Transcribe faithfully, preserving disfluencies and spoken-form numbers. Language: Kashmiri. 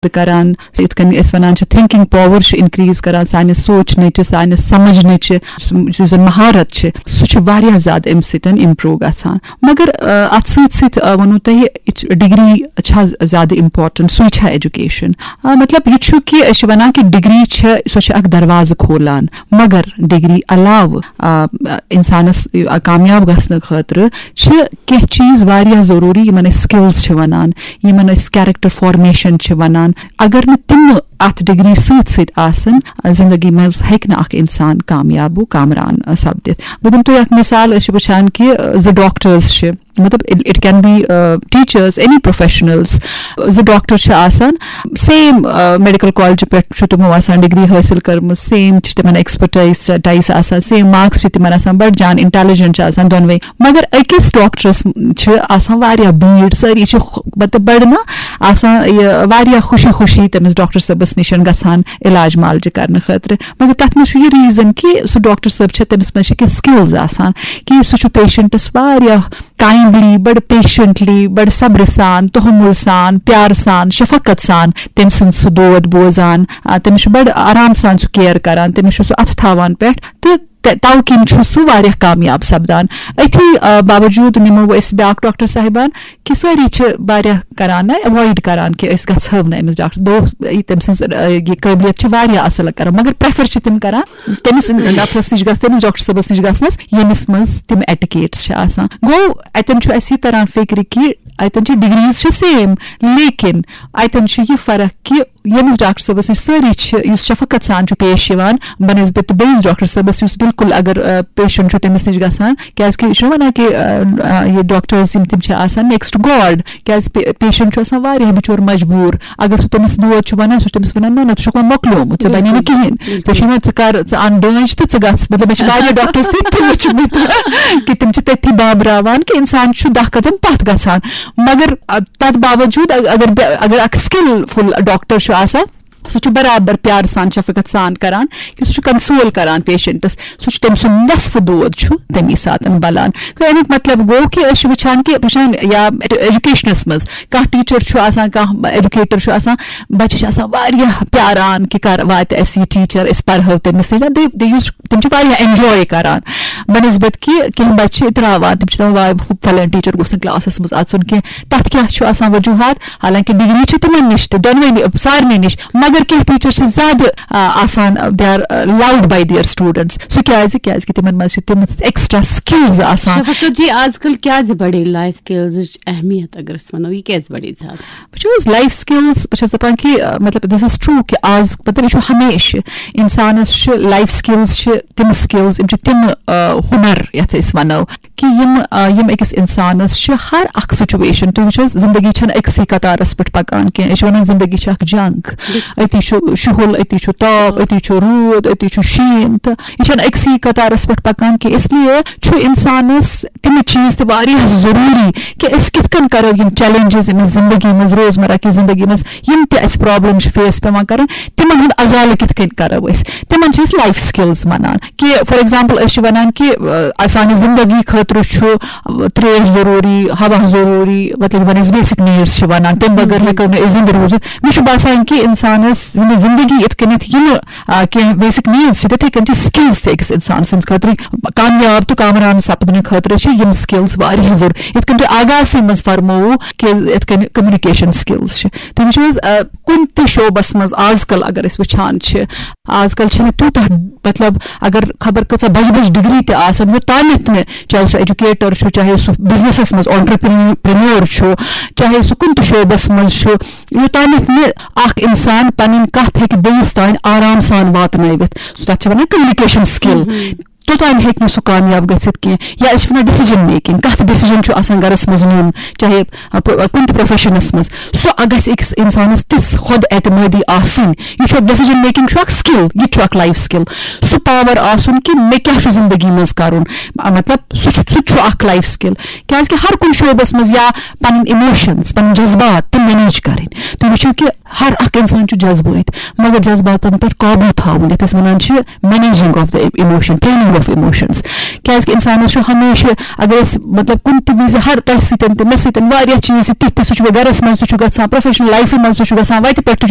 کران، یِتھ کٔنۍ أسۍ وَنان چھِ، تھنکنگ پاور چھُ انکریز کران، سانہِ سونچنٕچ، سانہِ سمجھنٕچ، یُس زَن مہارت چھِ، سُہ چھُ واریاہ زیادٕ اَمہِ سۭتۍ امپروو گژھان۔ مگر، آ، اَتھ سۭتۍ سۭتۍ، آ، ووٚنوُ تۄہہِ، یہِ چھِ، ڈگری چھا زیادٕ امپورٹنٹ، سُے چھا ایجوکیشن؟ آ، مطلب، یہِ چھُ کہِ أسۍ چھِ وَنان کہِ ڈگری چھِ، سۄ چھِ اکھ دروازٕ کھولان، مگر ڈگری علاوٕ، آ، انسانس، آ، کامیاب گژھنہٕ خٲطرٕ چھِ کینٛہہ چیٖز واریاہ ضروٗری، یِمن أسۍ سکلز چھِ وَنان، یِمن أسۍ کیریکٹر فارمیشن چھِ وَنان۔ اگر نہٕ تِم اتھ ڈگری سۭتۍ سۭتۍ آسن، زندگی منٛز ہیٚکہِ نہٕ اکھ انسان کامیاب و کامران سپدِتھ۔ بہٕ دِمہٕ تۄہہِ اکھ مثال، أسۍ چھِ وٕچھان کہِ، آ، زٕ ڈاکٹرز چھِ، مطلب، it can be teachers, any professionals. زٕ ڈاکٹر چھِ آسان، سیم میڈیکل کالج پٮ۪ٹھ چھُ تِمو آسان ڈگری حٲصِل کٔرمٕژ، سیم چھِ تِمن ایکسپرٹائز آسان، سیم مارکس چھِ تِمن آسان، بڑٕ جان انٹیلیجنٹ چھِ آسان دۄنوے۔ مگر أکِس ڈاکٹرس چھِ آسان واریاہ بھیڑ، سٲری چھِ خ-، مطلب، بڑٕ نہ آسان، یہِ واریاہ خوشی خوشی تٔمِس ڈاکٹر صٲبس نِش گژھان علاج معالجہٕ کرنہٕ خٲطرٕ۔ مگر تتھ منٛز چھُ یہِ ریزن کہِ سُہ ڈاکٹر صٲب چھِ، تٔمِس منٛز چھِ کینٛہہ سکلز آسان، کہِ سُہ چھُ پیشنٹس واریاہ کائنڈلی، بڑٕ پیشنٹلی، بڑٕ صبرٕ سان، تحمل سان، پیار سان، شفقت سان تٔمۍ سُنٛد سُہ دود بوزان، آ، تٔمِس چھُ بڑٕ آرام سان سُہ کیئر کران، تٔمِس چھُ سُہ اتھٕ تھاوان پٮ۪ٹھ، تہٕ تہ-، توٕ کِنۍ چھُ سُہ واریاہ کامیاب سپدان۔ أتھی، آ، باوجود نِمو أسۍ بیاکھ ڈاکٹر صاحبان، کہِ سٲری چھِ واریاہ کران نہ، ایوایڈ کران کہِ أسۍ گژھو نہٕ أمِس ڈاکٹر، دوٚپ، یہِ تٔمۍ سٕنٛز، آ، یہِ قٲبلیت چھِ واریاہ اصل کران، مگر پریفر چھِ تِم کران تٔمِس نفرس نِش گژھ، تٔمِس ڈاکٹر صٲبس نِش گژھنس، ییٚمِس منٛز تِم ایٹیکیٹس چھِ آسان۔ گوٚو، اتٮ۪ن چھُ اَسہِ یہِ تران فکرِ کہِ اتٮ۪ن چھِ ڈگریز چھِ سیم، لیکن اتٮ۪ن چھُ یہِ فرق کہِ ییٚمِس ڈاکٹر صٲبس نِش سٲری چھِ، یُس شفقت سان چھُ پیش یِوان بنسبت بیٚیِس ڈاکٹر صٲبس، یُس بالکل اگر، آ، پیشنٹ چھُ تٔمِس نِش گژھان، کیازِ کہِ یہِ چھُنہ ونان کہِ، آ، آ، یہِ ڈاکٹرز یِم تِم چھِ آسان نیکسٹ گاڈ، کیازِ پے-، پیشنٹ چھُ آسان واریاہ بِچور مجبوٗر، اگر سُہ تٔمِس دود چھُ ونان، سُہ چھُ تٔمِس ونان، نہ نہ، ژٕ چھُکھ وۄنۍ مۄکلیومُت، ژےٚ بنی نہٕ بِلکُل، کِہیٖنۍ، بِلکُل۔ ژےٚ چھُے وۄنۍ، ژٕ کر، ژٕ اَن ڈٲنٛج تہٕ ژٕ گژھ۔ مطلب، مےٚ چھِ واریاہ ڈاکٹرس تہِ تہِ وٕچھمٕتۍ کہِ تِم چھِ تٔتھی بابراوان کہِ انسان چھُ دَہ قدم پتھ گژھان۔ مگر، آ، تتھ باوجود ا-، اگر بے-، اگر اکھ سکلفل ڈاکٹر چھُ آسان، سُہ چھُ برابر پیار سان، شفقت سان کران، کہِ سُہ چھُ کنسول کران پیشنٹس، سُہ چھُ تٔمۍ سُنٛد نصف دود چھُ تَمی ساتہٕ بلان۔ گوٚو، اَمیُک مطلب گوٚو کہِ أسۍ چھِ وٕچھان کہِ، وٕچھان یا ایجوکیشنس منٛز کانٛہہ ٹیچر چھُ آسان، کانٛہہ ایجوکیٹر چھُ آسان، بچہِ چھِ آسان واریاہ پیاران کہِ کر واتہِ اَسہِ یہِ ٹیچر، أسۍ پرہو تٔمِس سۭتۍ۔ دے، دے یوٗز، تِم چھِ واریاہ انجوے کران، بنسبت کہِ کینٛہہ بچہِ چھِ اتراوان، تِم چھِ دپان، واے، فلٲنۍ ٹیچر گوٚژھ نہٕ کلاسس منٛز اژُن کینٛہہ۔ تتھ کیٛاہ چھُ آسان وجوہات؟ حالانکہِ ڈگری چھِ تِمن نِش تہِ، دۄنوٕنی، سارنٕے نِش، مگر کینٛہہ ٹیچر چھِ زیادٕ، آ، آسان، they are loud by their students۔ سُہ کیٛازِ؟ کیٛازِ کہِ تِمن منٛز چھِ تِم ایکسٹرا سکلز آسان۔ شفقت جی، آز کل کیٛازِ بڑے لائف سکلزٕچ اہمیت، اگر أسۍ ونو، یہِ کیٛازِ بڑے زیادٕ؟ وٕچھِو حظ، لائف سکلز، بہٕ چھَس دَپان کہِ، آ، مطلب، this is true کہِ آز، مطلب، یہِ چھُ ہمیشہِ اِنسانَس چھِ لائف سکلز چھِ تِم سکلز، یِم چھِ تِم، آ، ہُنر یَتھ أسۍ وَنو کہِ یِم، آ، یِم أکِس اِنسانَس چھِ ہر اکھ سچویشن، تُہۍ وٕچھِو حظ، زندگی چھَنہٕ أکسٕے قطارَس پٮ۪ٹھ پَکان کینٛہہ، أسۍ چھِ وَنان زندگی چھِ اکھ جنگ، أتی چھُ شُہُل، أتی چھُ تاپھ، أتی چھُ روٗد، أتی چھُ شیٖن، تہٕ یہِ چھَنہٕ أکسٕے قطارَس پٮ۪ٹھ پَکان کینٛہہ، اس لیے چھُ اِنسانَس تِم چیٖز تہِ واریاہ ضروٗری کہِ أسۍ کِتھ کٔنۍ کَرو یِم چیلنجز أمِس زندگی منٛز، روزمرہ کہِ زندگی منٛز، یِم تہِ اَسہِ پرابلم چھِ فیس پٮ۪وان کَرٕنۍ، تِمن ہُنٛد ازالہٕ کِتھ کٔنۍ کَرو أسۍ، تِمن چھِ أسۍ لائف سکلز وَنان۔ کہِ فار ایگزامپل أسۍ چھِ وَنان کہِ، آ، سانہِ زندگی خٲطرٕ چھُ، آ، تریش ضروٗری، ہوا ضروٗری، مطلب یِمن أسۍ بیسک نیڈس چھِ وَنان، تَمہِ بغٲر ہٮ۪کو نہٕ أسۍ زندٕ روٗزِتھ۔ مےٚ چھُ باسان کہِ اِنسانَس زندگی یِتھ کٔنٮ۪تھ یِنہٕ، آ، کینٛہہ بیسک نیڈس چھِ، تِتھے کٔنۍ چھِ سکلز تہِ أکِس اِنسان سٕنٛدِ خٲطرٕ، کامیاب تہٕ کامران سپدنہٕ خٲطرٕ چھِ یِم سکلز واریاہ ضروٗری۔ یِتھ کٔنۍ تۄہہِ آغازسٕے منٛز فرمووُ کہِ یِتھ کٔنۍ کمیونِکیشن سکلز چھِ، تِم چھِ حظ، آ، کُنہِ تہِ شعبس منٛز آز کل اگر أسۍ وٕچھان چھِ، آز کل چھِنہٕ تیوٗتاہ، مطلب، اگر خبر کۭژاہ بجہِ بجہِ ڈگری تہِ آسن، یوٚتانٮ۪تھ نہٕ، چاہے سُہ ایجوکیٹر چھُ، چاہے سُہ بزنسس منٛز آنٹرپرینور چھُ، چاہے سُہ کُنہِ تہِ شعبس منٛز چھُ، یوٚتانٮ۪تھ نہٕ اکھ انسان پنٕنۍ کتھ ہیٚکہِ بیٚیِس تام آرام سان واتنٲوِتھ، سُہ، تتھ چھِ ونان کمیونیکیشن سکل۔ توٚتام ہیٚکہِ نہٕ سُہ کامیاب گٔژھِتھ کینٛہہ۔ یا أسۍ چھِ وَنان ڈیسیجن میکنگ، کَتھ ڈیسیجن چھُ آسان گَرَس منٛز نیُن، چاہے، آ، پُ-، کُنہِ تہِ پروفیشنَس منٛز، سُہ گژھِ أکِس اِنسانَس تِژھ خۄد اعتمٲدی آسٕنۍ۔ یہِ چھُ اکھ ڈیسیجن میکنگ، چھُ اکھ سکل، یہِ تہِ چھُ اکھ لائف سکل۔ سُہ پاور آسُن کہِ مےٚ کیٛاہ چھُ زندگی منٛز کَرُن، آ، مطلب، سُہ چھُ، سُہ تہِ چھُ اکھ لائف سکل۔ کیٛازِ کہِ ہر کُنہِ شعبَس منٛز یا پَنٕنۍ ایموشنز، پَنٕنۍ جذبات تِم مینیج کَرٕنۍ۔ تُہۍ وٕچھِو کہِ ہر اکھ انسان چھُ جذبٲتۍ، مگر جذباتن پٮ۪ٹھ قابو تھاوُن، یتھ أسۍ ونان چھِ managing of the emotion, taming of emotions۔ کیازِ کہِ انسانس چھُ ہمیشہِ، اگر أسۍ، مطلب، کُنہِ تہِ وِزِ ہر تۄہہِ سۭتۍ تہِ، مےٚ سۭتۍ واریاہ چیٖز چھِ تِتھۍ تہِ، سُہ چھُ گرس منٛز تہِ چھُ گژھان، پروفیشنل لایفہِ منٛز تہِ چھُ گژھان، وتہِ پٮ۪ٹھ تہِ چھُ